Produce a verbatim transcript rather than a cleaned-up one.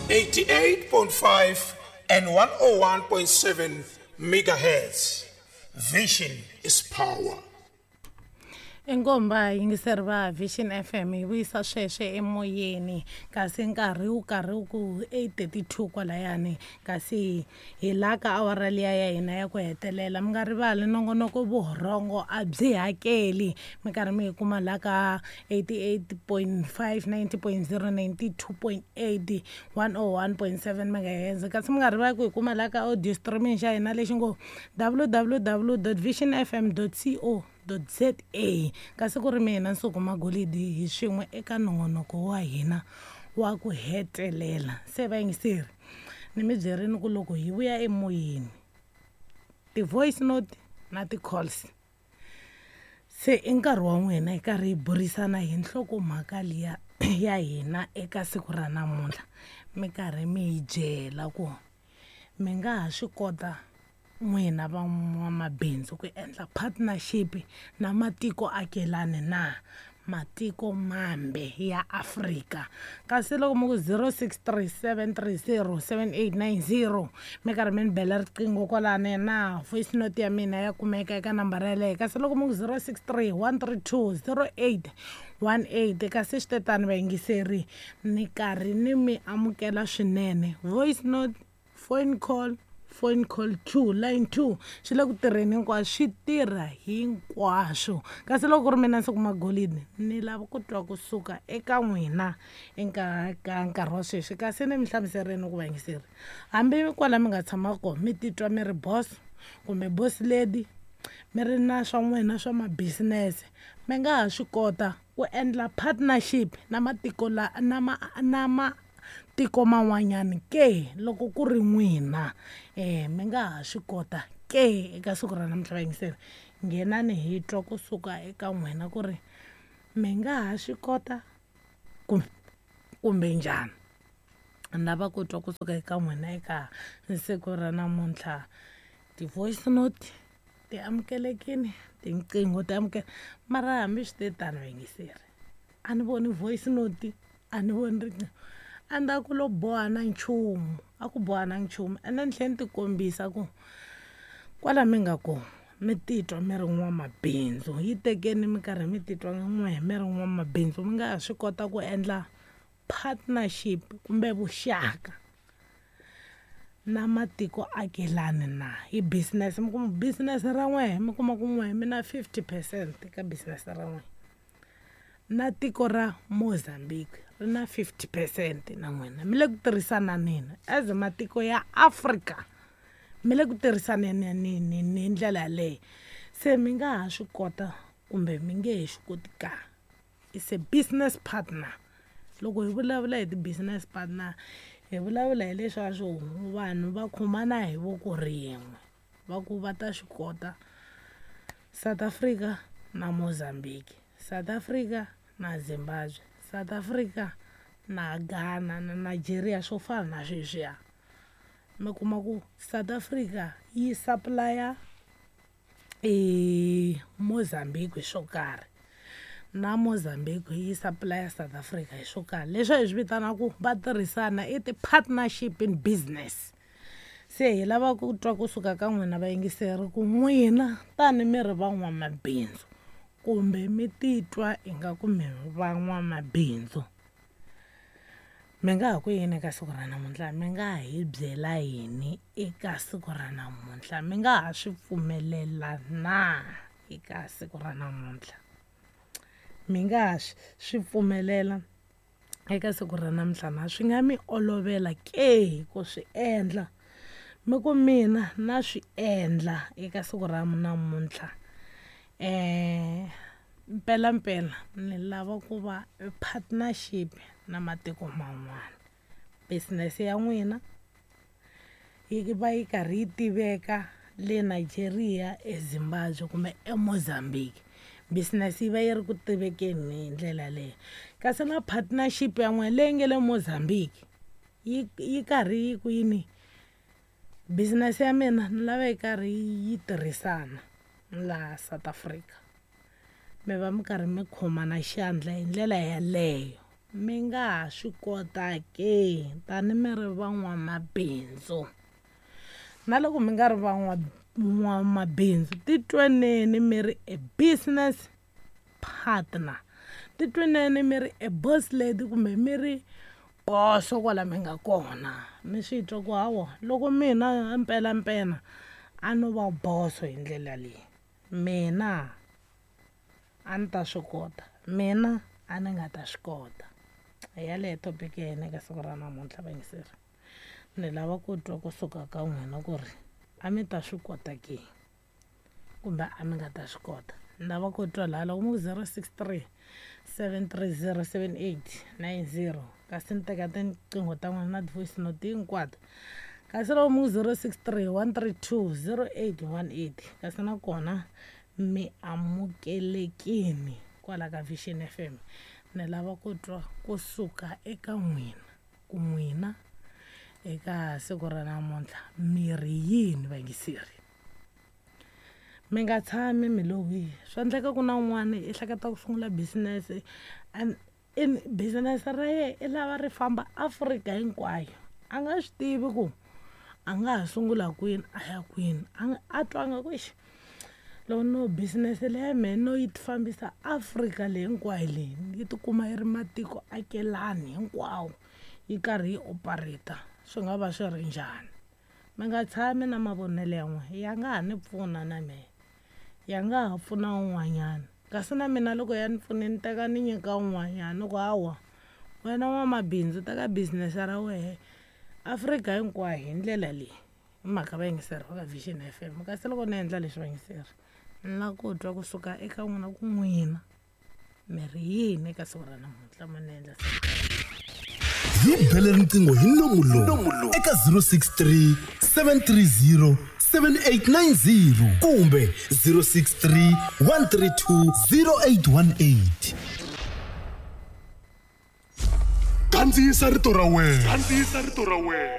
eighty-eight point five and one oh one point seven megahertz. Vision is power. Inkomba yingiseri va Vision F M yi vuyisa sweswe emoyeni, kasi nkarhi wu karhi wu ku eight thirty-two kwalayani, kasi hi la ka awara liya ya hina ya ku hetelela. Mi nga rivali nongonoko vurhongo a byi hakeli, mi karhi mi yi kuma la ka eighty-eight point five, ninety point zero, ninety-two point eight, one oh one point seven megahertz. Kasi mi nga rivali ku yi kuma la ka audio streaming xa hina lexi ngo w w w dot vision f m dot co dot z a. Kasi ku ri mina Nsuku Magolidi hi swin'we eka nongonoko wa hina wa ku hetelela. Se vayingiseri, ni mi byerini ku loko hi vuya emoyeni ti-voice note na ti-calls, se i nkarhi wa n'wina hi karhi hi burisana hi nhlokomhaka liya ya hina eka siku ra namuntlha. Mi karhi mi hi byela ku mi nga ha swi kota n'wina van'wamabindzu ku endla partnership na matiko akelani na matiko mambe ya Afrika. Kasi loko mi ku zero six three seven three zero seven eight nine zero mi karhi mi ni bela riqingho kwalani na voice note ya mina ya kumeka eka nambara yaleyo. Kasi loko mi ku zero six three one three two zero eight one eight, kasi swi tetani vayingiseri ni karhi ni mi amukela swinene. Voice note, phone call, phone call two, line two, swi le ku tirheni hinkwaswo, swi tirha hinkwaswo. Kasi loko ku ri mina Nsuku Magolidi, ni lava ku twa kusuka eka n'wina eka ka nkarhi wa sweswi. Kasi ni mi hlamuserini ku vayingiseri, hambi kwala mi nga tshama kona mi titwa mi ri boss kumbe boss lady, mi ri na swa n'wina swa ma-business, mi nga ha swi kota ku endla partnership na matiko la, na ma, na ma tiko man'wanyana ke loko ku ri n'wina, eh, mi nga ha swi kota ke eka siku ra namuntlha vayingiseri. Nghenani hi twa kusuka eka n'wina ku ri mi nga ha swi kota kumbe, kumbe njhani. Ni lava ku twa kusuka eka n'wina eka siku ra namuntlha. Ti-voice note ti amukelekile, tinqingho ti amukela, mara hambi swi te tano vayingiseri, a ni voni voice note, a ni voni riqingho. A ni ta ku lo boha na nchumu, a ku boha na nchumu. Ene ni tlhela ni ti kombisa ku kwala mi nga kona mi titwa mi ri n'wamabindzu, yi tekeni mi karhi mi titwa n'we mi ri n'wamabindzu, mi nga ha swi kota ku endla partnership kumbe vuxaka na matiko akelani na hi business. Mi kuma business ra n'we, mi kuma ku n'we mi na fifty percent ka business ra n'we, na tiko ra Mozambique ri na fifty percent na n'wina, mi le ku tirhisananeni as matiko ya Afrika, mi le ku tirhisaneni ni, ni, ni ndlela yaleyo. Se mi nga ha swi kota kumbe mi nge he swi koti ka. It's a business partner. Loko hi vulavula hi ti-business partner, hi vulavula hi leswaku vanhu va khomana hi voko rin'we, va ku va ta swi kota South Africa na Mozambique, South Africa na Zimbabwe, South Africa na Ghana na Nigeria, swo fana na sweswiya. Mi kuma ku South Africa yi supply-a e Mozambique hi swo karhi, na Mozambique yi supply-a South Africa hi swo karhi. Leswi hi swi vitanaka ku va tirhisana i ti-partnership in business. Se hi lava ku twa kusuka ka n'wina vayingiseri ku n'wina tani mi ri van'wamabindzu kumbe mi titwa ingaku mi van'wamabindzu, mi nga ha ku yini eka siku ra namuntlha? Mi nga hi byela yini eka siku ra namuntlha? Mi nga ha swi pfumelela na eka siku ra namuntlha? Mi nga ha swi pfumelela eka siku ra namuntlha na? Swi nga mi olovela ke ku swi endla? Mi ku mina na swi endla eka siku ra namuntlha. Eh, mpela mpela ni lava ku va partnership na matiko man'wana. Business ya n'wina yi va yi karhi yi tiveka le Nigeria, eZimbabwe kumbe eMozambique. Business yi va yi ri ku tivekeni hi ndlela leyo. Kasi na partnership ya n'wina leyi nga le Mozambique yi, yi karhi yi ku yini? Business ya mina ni lava yi karhi yi tirhisana laha South Africa. Mi va mi karhi mi khomana xandla hi ndlela yaleyo. mi nga ha swi kota ke tani mi ri van'wamabindzu. Na loko mi nga ri van'wamabindzu, titweneni mi ri a business partner, titweneni mi ri a boss lady kumbe mi ri boso kwala mi nga kona. Mi swi twa ku hawa loko mina mpelampela a no va boso hi ndlela leyi, mina a ni ta swi kota, mina a ni nga ta swi kota. Hi yaleyo topic ya hina eka siku ra namuntlha vayingiseri. Ni lava ku twa kusuka ka n'wina ku ri a mi ta swi kota ke kumbe a mi nga ta swi kota. Ni lava ku twa laha loko mi ku zero six three seven three zero seven eight nine zero, kasi ni teka tinqingho ta n'wina na ti-voice note hinkwato. Kasi loko mi ku zero six three one three two zero eight one eight, kasi nakona mi amukelekini kwala ka Vision F M. Ni lava ku twa kusuka eka n'wina ku n'wina eka siku ra namuntlha mi ri yini vayingiseri. Mi nga tshami mi lo wihi, swa endleka ku na un'wana i hleketa ku sungula business and in business ra yena i lava ri famba Afrika hinkwayo, a nga swi tivi ku a nga ha sungula kwini a ya kwini. A a twanga ku ixi loko no business leyi ya mehe no yi fambisa Afrika leyi hinkwayo leyi yi tikuma yi ri matiko akelani hinkwawo yi karhi yi operate, swi nga va swi ri njhani. Mi nga tshami na mavonelo ya n'wina, ya nga ha ni pfuna na mehe, ya nga ha pfuna un'wanyana. Kasi na mina loko ya ni pfune ni teka ni nyika un'wanyana, ni ku hawa wena n'wamabindzu teka business ra wehe Afrika hinkwayo hi ndlela leyi. Hi mhaka vayingiseri va ka Vision F M. Kasi loko ni endla leswi vayingiseri, ni lava ku twa kusuka eka n'wina ku n'wina mi ri yini eka siku ra namuntlha mo ni endla. Hi bele riqingho hi nomu lowu eka zero six three seven three zero seven eight nine zero kumbe zero six three one three two zero eight one eight. Kandziyisa rito ra wena. Kandziyisa rito ra wena.